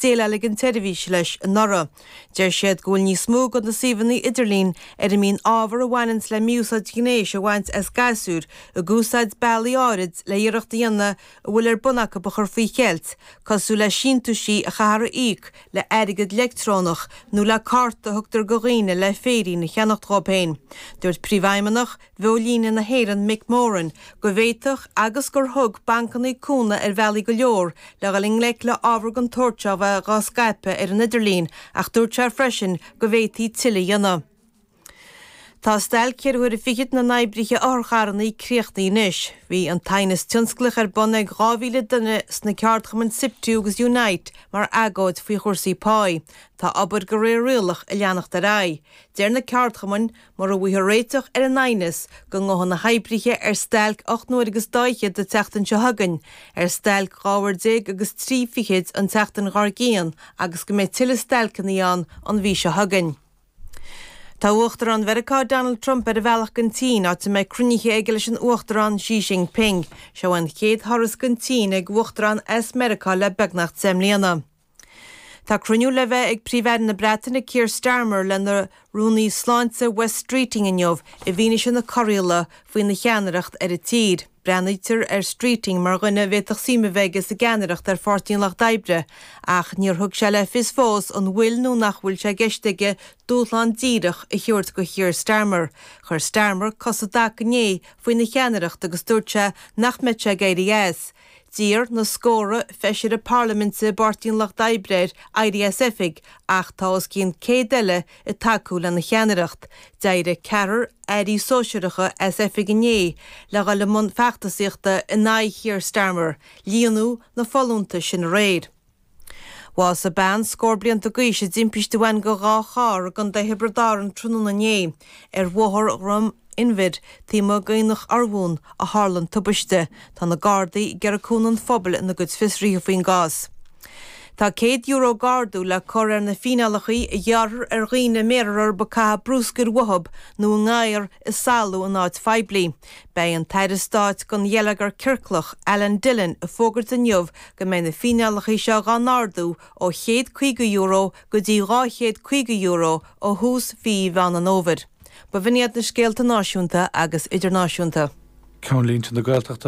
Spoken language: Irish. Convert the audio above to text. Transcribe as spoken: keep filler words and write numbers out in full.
dhéileáil an tseirbhís leis anuraidh. Deir siad go bhfuil níos mó de na suíomhanna idirlín ar a mbíonn ábhar a bhaineann le mí-úsáid ghnéis a bhaint as gasúir ag úsáid bealaí áirid le iarracht a dhéanamh a bhfuil ar bun acu a chur faoi cheilt, cosúil le síntiúisí a chaithfear a íoc le airgead leictreonach nó le cárta a thugtar do dhaoine le féirín a cheannacht dóibh féin. Dúirt príomhfheidhmeannach Bheolíne na hÉireann Mick Moran go bhféadfadh agus gur thug bancanna cúnamh ar bhealaí go leor le dhul i ngleic le ábhar den tsórt seo bheith á scaipeadh ar an idirlíon ach dúirt sé freisin go bhféadfaí tuilleadh a dhéanamh. Tá stailc ceithre huaire fichead na n-oibrithe otharcharranna críochnaithe anois. Bhí an t-aighneas tionsclach ar bun ag dhá mhíle duine sna ceardchumainn SIPTU agus Unite mar agóid faoi chúrsaí páí. Tá obair de réir rialach ag leanacht ar aghaidh. Deir na ceardchumainn, mura bhfaighfear réiteach ar an aighneas, go ngabhfaidh na hoibrithe ar stailc ocht n-uaire agus dá fhichead an tseachtain seo chugainn, ar stailc dhá uair déag agus trí fichid an tseachtain dhár gcionn agus go mbeidh tuilleadh stailceanna ann an mhí seo chugainn. Tá Uachtarán Mheiriceá Donald Trump ar a bhealach don tSín, áit a mbeidh cruinnithe aige leis an Uachtarán Xi Jinping. Seo an chéad thuras don tSín ag Uachtarán as Meiriceá le beagnach deich mbliana. Tá cruinniú le bheith ag Príomh-Aire na Breataine Keir Starmer lena Rúnaí Sláinte Wes Streeting inniu i bhfianaise na corraíola faoina cheannaireacht ar an tír. Breathnaítear ar Streeting mar dhuine a bhféadfadh suim a bheith aige sa gceannaireacht ar Pháirtí an Lucht Oibre, ach níor thug sé le fios fós an bhfuil nó nach bhfuil sé i gceist aige dúshlán díreach a thabhairt do Keir Starmer. Chuir Starmer cos i dtaca inné faoina cheannaireacht agus dúirt sé nach mbeadh sé ag éirí as. D'iarr na scórtha feisire parlaiminte i bPáirtí an Lucht Oibre air éirí as oifig ach tá os cionn céad eile ag tacú lena cheannaireacht. D'éirigh ceathrar airí sóisearacha as oifig inné le dhul i mbun feachtasaíochta in aghaidh Keir Starmer, líonadh na folúntais sin aréir. Bhásaigh bean scór blianta d'aois i dtimpiste a bhain de dhá charr i gContae Thiobraid Árann tráthnóna inné ar Bhóthar Dhroim Inbhir taobh amuigh d'Aonach Urmhumhan a tharla an tubaiste. Tá na Gardaí ag iarraidh cúnamh an phobail ina gcuid fiosruithe faoin gcás. Tá céad euro d'ardú le cur ar na fíneálacha a ghearrfar ar dhaoine a mbéarfar orthu ag caitheamh bruscair uathu nó a ngadhar ag salú in áit phoiblí. Beidh an tAire Stáit don Gheilleagar Ciorclach, Alan Dillon, ag fógairt inniu go mbeidh na fíneálacha seo dhá n-ardú ó chéad caoga euro go dtí dhá chéad caoga euro ó thús mhí Mheán an Fhómhair. Ba bh'in iad na scéalta náisiúnta agus idirnáisiúnta. Ceannlínte na Gaeltachta.